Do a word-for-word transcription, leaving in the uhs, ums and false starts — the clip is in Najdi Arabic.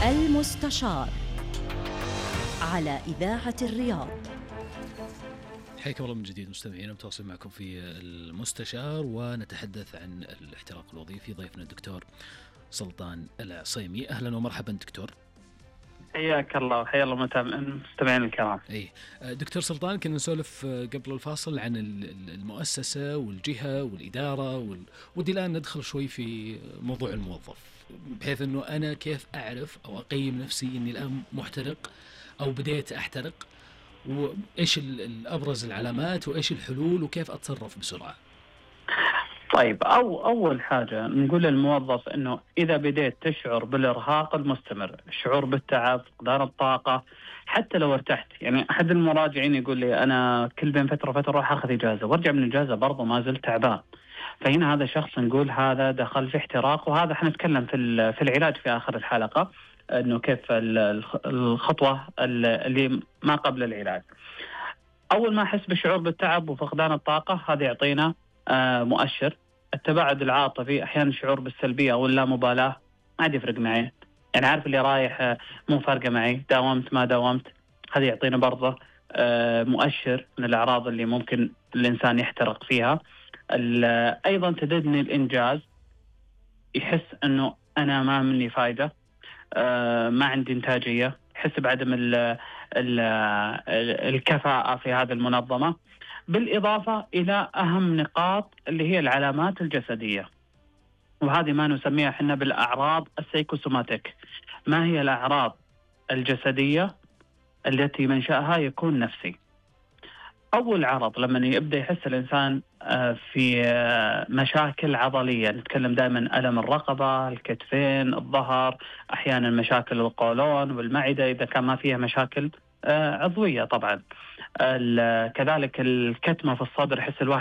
المستشار على إذاعة الرياض. حياكم الله من جديد مستمعينا، متواصل معكم في المستشار ونتحدث عن الاحتراق الوظيفي. ضيفنا الدكتور سلطان العصيمي. أهلا ومرحبا دكتور. حياك الله وحيا الله المستمعين الكرام. أي دكتور سلطان، كنا نسولف قبل الفاصل عن المؤسسة والجهة والإدارة وال... ودي الآن ندخل شوي في موضوع الموظف، بحيث أنه أنا كيف أعرف أو أقيم نفسي أني الآن محترق أو بديت أحترق، وإيش الأبرز العلامات وإيش الحلول وكيف أتصرف بسرعة. طيب، أو أول حاجة نقول للموظف أنه إذا بديت تشعر بالإرهاق المستمر، الشعور بالتعب، فقدان الطاقة، حتى لو ارتحت، يعني أحد المراجعين يقول لي أنا كل بين فترة فترة أروح أخذ إجازة وأرجع من الإجازة برضه ما زلت تعبان، فهنا هذا شخص نقول هذا دخل في احتراق، وهذا حنتكلم في في العلاج في آخر الحلقة أنه كيف الخطوة اللي ما قبل العلاج. أول ما أحس بالشعور بالتعب وفقدان الطاقة، هذا يعطينا آه مؤشر. التباعد العاطفي، أحيانا الشعور بالسلبية أو اللامبالاة، ما عاد يفرق معي، يعني عارف اللي رايح آه مو فارقة معي، داومت ما داومت، هذا يعطينا برضه آه مؤشر من الأعراض اللي ممكن الإنسان يحترق فيها. أيضا تدني الإنجاز، يحس أنه أنا ما مني فايدة، آه ما عندي إنتاجية، يحس بعدم ال ال الكفاءة في هذه المنظمة، بالإضافة إلى أهم نقاط اللي هي العلامات الجسدية، وهذه ما نسميها احنا بالأعراض السيكوسوماتيك. ما هي الأعراض الجسدية التي منشأها يكون نفسي؟ أول عرض لما يبدأ يحس الإنسان في مشاكل عضلية، نتكلم دائما ألم الرقبة، الكتفين، الظهر، أحيانا مشاكل القولون والمعدة إذا كان ما فيها مشاكل عضوية طبعا، كذلك الكتمة في الصدر، يحس الواحد